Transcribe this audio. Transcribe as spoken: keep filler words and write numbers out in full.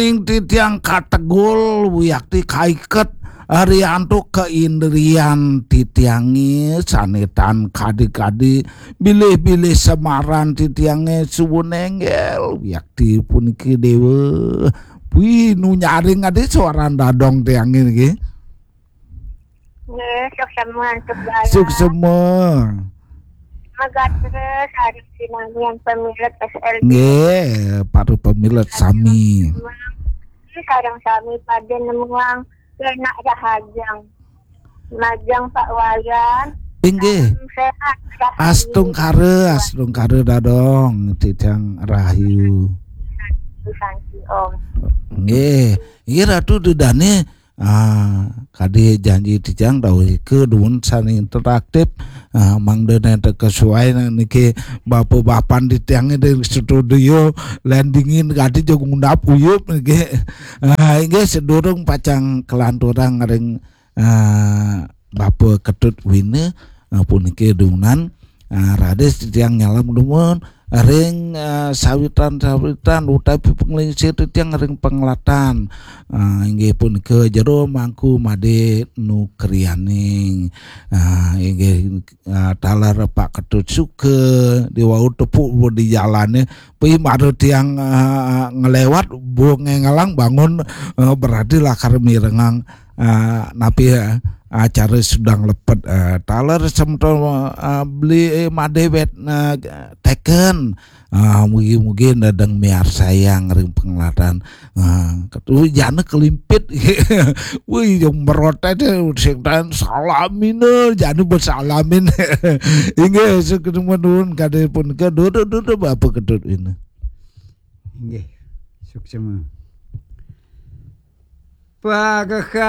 Ing titiang kategul wiakti kaiket, Ariantuk keindrian titiange sanetan kadi-kadi bilih-bilih semaran titiange suwun enggel wiakti puniki dewa. Wih, nu nyaring adi suaran dadong tiange niki. Nggih, suksema antuk dalam. Suksema. Megatres sareng sinamian pemilet S L B. Nggih, para pemilet sami. Sareng sami pada nemuang enak rahajeng. Majeng Pak Wayan. Inggih. Sehat. Astungkara, astungkara dadong titiang rahayu. Santi Om. Nggih, inggih Ratu Ida dane. Ah, kadi janji titiang dawuh ika dumun sane interaktif. Ah, mangda nenten kesuai niki bapa-bapan titiange di studio, len dingin kadi jeg ngundap uyup niki. Ah, inggih sedurung pacang kelanturang ring ah, Bapa Ketut Wina, ah, puniki dunan, ah, raris titiang nyalem dumun ring, ah, sawitan-sawitan utawi panglingsir titiang ring panglatan. Ah, inggih punika Jero Mangku Made Nukrianing. Ah, inggih, ah, taler Pak Ketut Suka diwau tepuk di jalane. Pi mara tiang, ah, ngelewat bu ngengelang bangun, ah, berarti lakar mirengang, ah, napi, ah, acara sedang lepet, ah, taler semeton, ah, beli, eh, madewet, ah, teken. Ah, mugi-mugi nedeng miarsayang ring penglatan. Ah, ketu jana kelimpit. Wih, yang merotet, eh, sing dan salamina, jana bersalamin. Inggih, seketemuan nuwun kade punika. Duduk, duduk, Bapa Ketut Wina. Inggih, suksema. Pagaha